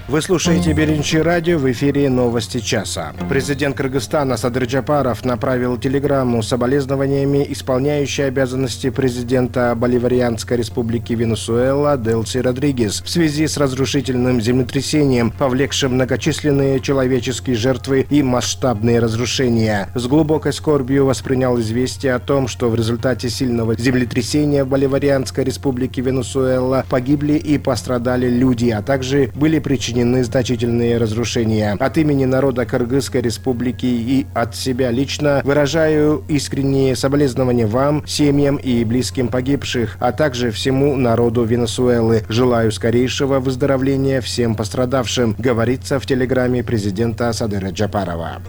Вы слушаете Биринчи радио, в эфире новости часа. Президент Кыргызстана Садыр Джапаров направил телеграмму с соболезнованиями исполняющей обязанности президента Боливарианской республики Венесуэла Делси Родригес в связи с разрушительным землетрясением, повлекшим многочисленные человеческие жертвы и масштабные разрушения. С глубокой скорбью воспринял известие о том, что в результате сильного землетрясения в Боливарианской республике Венесуэла погибли и пострадали люди, а также были причинены значительные разрушения. От имени народа Кыргызской республики и от себя лично выражаю искренние соболезнования вам, семьям и близким погибших, а также всему народу Венесуэлы. Желаю скорейшего выздоровления всем пострадавшим, говорится в телеграмме президента Садыра Джапарова.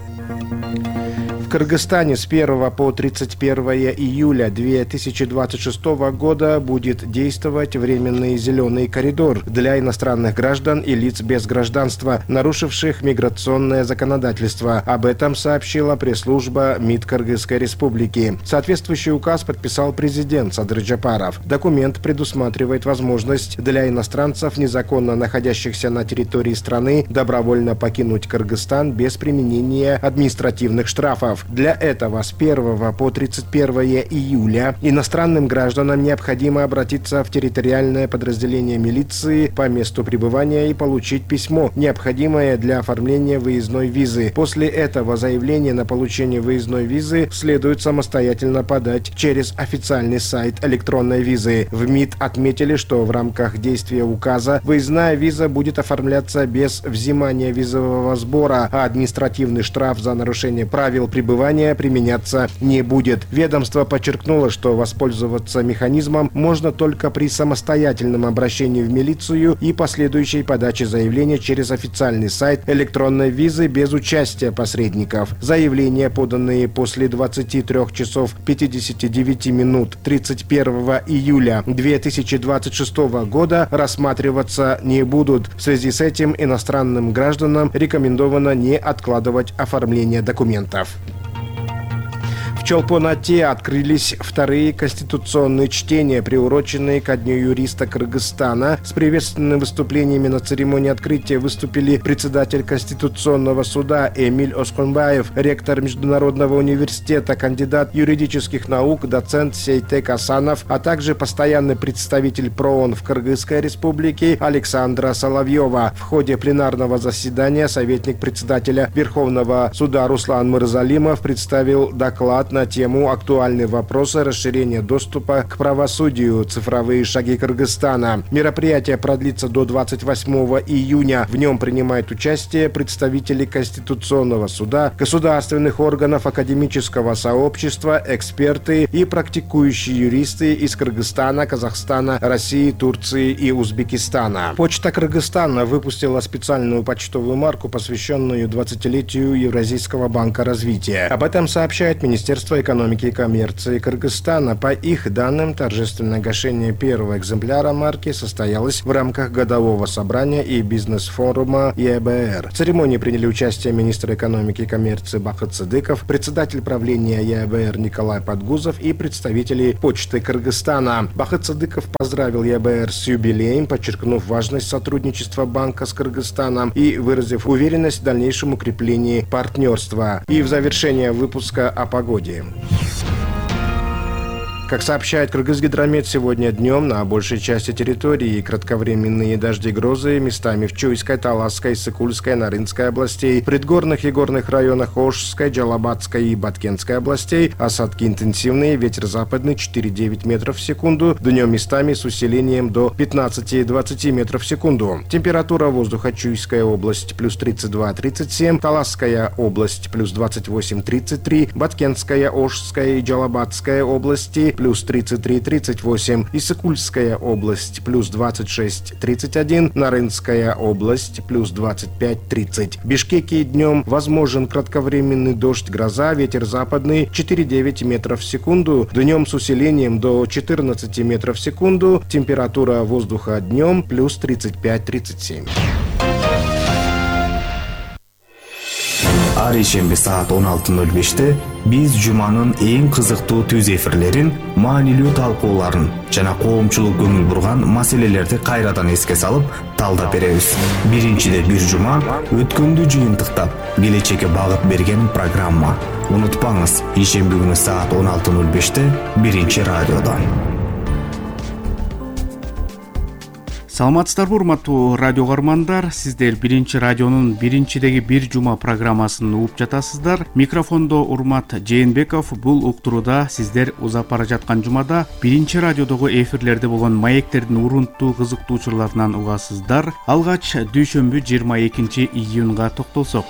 В Кыргызстане с 1 по 31 июля 2026 года будет действовать временный зеленый коридор для иностранных граждан и лиц без гражданства, нарушивших миграционное законодательство. Об этом сообщила пресс-служба МИД Кыргызской республики. Соответствующий указ подписал президент Садыр Джапаров. Документ предусматривает возможность для иностранцев, незаконно находящихся на территории страны, добровольно покинуть Кыргызстан без применения административных штрафов. Для этого с 1 по 31 июля иностранным гражданам необходимо обратиться в территориальное подразделение милиции по месту пребывания и получить письмо, необходимое для оформления выездной визы. После этого заявление на получение выездной визы следует самостоятельно подать через официальный сайт электронной визы. В МИД отметили, что в рамках действия указа выездная виза будет оформляться без взимания визового сбора, а административный штраф за нарушение правил пребывания применяться не будет. Ведомство подчеркнуло, что воспользоваться механизмом можно только при самостоятельном обращении в милицию и последующей подаче заявления через официальный сайт электронной визы без участия посредников. Заявления, поданные после 23 часов 59 минут 31 июля 2026 года, рассматриваться не будут. В связи с этим иностранным гражданам рекомендовано не откладывать оформление документов. В Чолпон-Ате открылись вторые конституционные чтения, приуроченные ко Дню юриста Кыргызстана. С приветственными выступлениями на церемонии открытия выступили председатель Конституционного суда Эмиль Осконбаев, ректор Международного университета, кандидат юридических наук, доцент Сейтек Асанов, а также постоянный представитель ПРООН в Кыргызской республике Александра Соловьева. В ходе пленарного заседания советник председателя Верховного суда Руслан Мырзалимов представил доклад на тему «Актуальные вопросы расширения доступа к правосудию. Цифровые шаги Кыргызстана». Мероприятие продлится до 28 июня. В нем принимают участие представители Конституционного суда, государственных органов, академического сообщества, эксперты и практикующие юристы из Кыргызстана, Казахстана, России, Турции и Узбекистана. Почта Кыргызстана выпустила специальную почтовую марку, посвященную 20-летию Евразийского банка развития. Об этом сообщает Министерство экономики и коммерции Кыргызстана. По их данным, торжественное гашение первого экземпляра марки состоялось в рамках годового собрания и бизнес-форума ЕБР. В церемонии приняли участие министр экономики и коммерции Бахыт Сыдыков, председатель правления ЕБР Николай Подгузов и представители Почты Кыргызстана. Бахыт Сыдыков поздравил ЕБР с юбилеем, подчеркнув важность сотрудничества банка с Кыргызстаном и выразив уверенность в дальнейшем укреплении партнерства. И в завершение выпуска о погоде. Как сообщает Кыргызгидромет, сегодня днем на большей части территории кратковременные дожди, грозы местами в Чуйской, Таласской, Сыкульской, Нарынской областей, предгорных и горных районах Ошской, Джалабатской и Баткенской областей. Осадки интенсивные, ветер западный 4-9 метров в секунду, днем местами с усилением до 15-20 метров в секунду. Температура воздуха: Чуйская область плюс 32-37, Таласская область плюс 28-33, Баткенская, Ошская и Джалабатская области плюс 33-38, Иссыкульская область плюс 26-31, Нарынская область плюс 25-30. В Бишкеке днем возможен кратковременный дождь, гроза, ветер западный 4-9 метров в секунду, днем с усилением до 14 метров в секунду, температура воздуха днем плюс 35-37. Ар ишемби саат 16:05 биз жуманын эң кызыктуу түз эфирлерин, маанилүү талкууларын жана коомчулук көңүл бурган маселелерди кайрадан эске салып талдап беребиз. Биринчиде бир жума өткөндү жыйынтыктап, келечекке багыт берген программа. Унутпаңыз, ишемби күнү саат 16:05 биринчи радиодон. Саламатсыздарбы, урматтуу радио каармандар? Сиздер биринчи радионун биринчидеги бир жума программасын угуп жатасыздар. Микрофондо Урмат Жээнбеков. Бул уктурууда сиздер узап бара жаткан жумада биринчи радиодогу эфирлерде болгон маектердин урунттуу кызыктуу учурларынан угасыздар. Алгач дүйшөмбү 22 июнга токтолсок.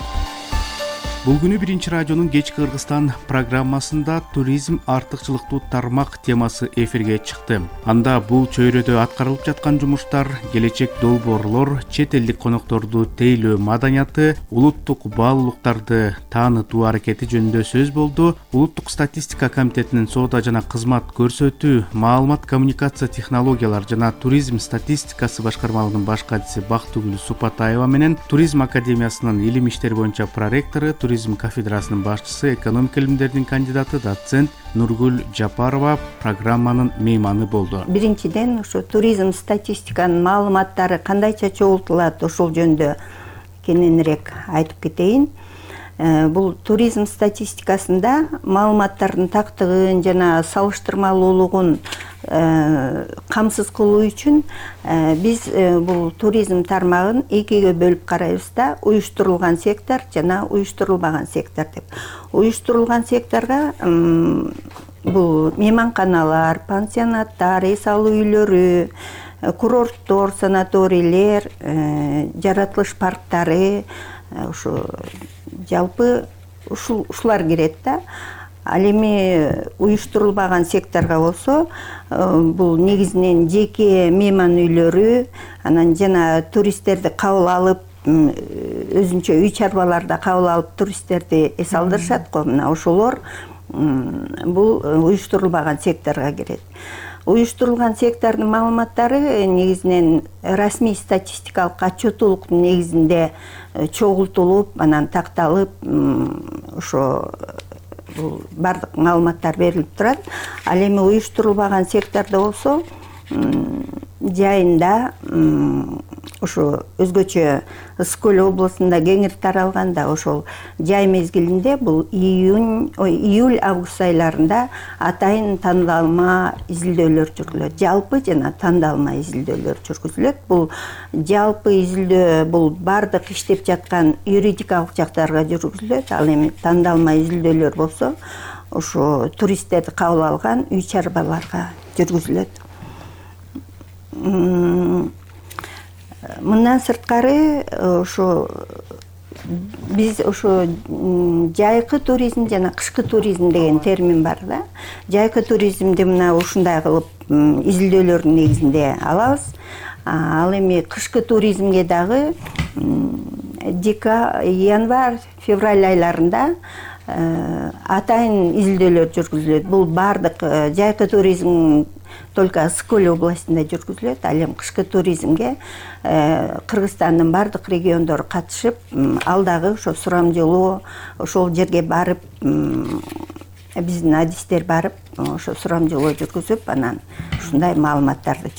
Бул күнү биринчи радионун кечки Кыргызстан программасында туризм артыкчылыктуу тармак темасы эфирге чыкты. Анда бул чөйрөдө аткарылып жаткан жумуштар, келечек долбоорлор, чет элдик конокторду тейлөө маданияты, улуттук баалуулуктарды таанытуу аракети жөнүндө сөз болду. Улуттук статистика комитетинин соода жана кызмат көрсөтүү, маалымат коммуникация технологиялар жана туризм статистикасы башкармалыгынын баш катчысы Бактыгүл Супатаева менен Туризм академиясынын илим иштери боюнча проректору, туризм кафедрасынын башчысы, экономика илимдеринин кандидаты, доцент Нургүл Жапарова программанын мейманы болду. Биринчиден ушу туризм статистиканын маалыматтары кандайча чогултулат, ошол жөнүндө кененирээк айтып кетейин. Бул туризм статистикасында маалыматтардын тактыгын жана салыштырмалуулугун камсыз кылуу үчүн биз бул туризм тармагын экиге бөлүп карайбыз да, уюштурулган сектор жана уюштурулбаган сектор деп. Уюштурулган секторго бул мейманканалар, пансионаттар, эс алуу үйлөрү, курорттор, санаторийлер, жаратылыш парктары, ушу жалпы ушулар кирет да. Ал эми уюштурулбаган секторго болсо, бул негизинен жеке мейман үйлөрү, анан жана туристтерди кабыл алып, өзүнчө үй чарбаларда кабыл алып туристтерди эс алдырышат го. Мына ошолор бул уюштурулбаган секторго кирет. Уюштурулган сектордун маалыматтары негизинен расмий статистикалык отчетулуктун негизинде чогултулуп, анан такталып, ошо бардык маалыматтар берилип турат. Ал эми уюштурулбаган сектордо болсо, жайында ошо өзгөчө Ысык көл облусунда кеңири таралганда, ошол жай мезгилинде бул июль-август айларында атайын тандалма изилдөөлөр жүргүзүлөт. Жалпы жана тандалма изилдөөлөр жүргүзүлөт. Бул жалпы изилдөө бул бардык иштеп жаткан юридикалык жактарга жүргүзүлөт. Ал эми тандалма изилдөөлөр болсо, ошо туристтерди кабыл алган үй чарбаларга жүргүзүлөт. Мындан сырткары ошо биз ошо жайкы туризм жана кышкы туризм деген термин бар да. Жайкы туризмди мына ушундай кылып изилдөөлөрдүн негизинде алабыз. Ал эми кышкы туризмге дагы январь, февраль айларында атайын изилдөөлөр жүргүзүлөт. Бул бардык жайкы туризм только Ысык көл областында жүргүзүлөт. Ал эми кышкы туризмге Кыргызстандын бардык региондору катышып, ал дагы ошо сурамжылоо, ошол жерге барып, биздин адистер барып, ошо сурамжылоо жүргүзүп, анан ушундай маалыматтарды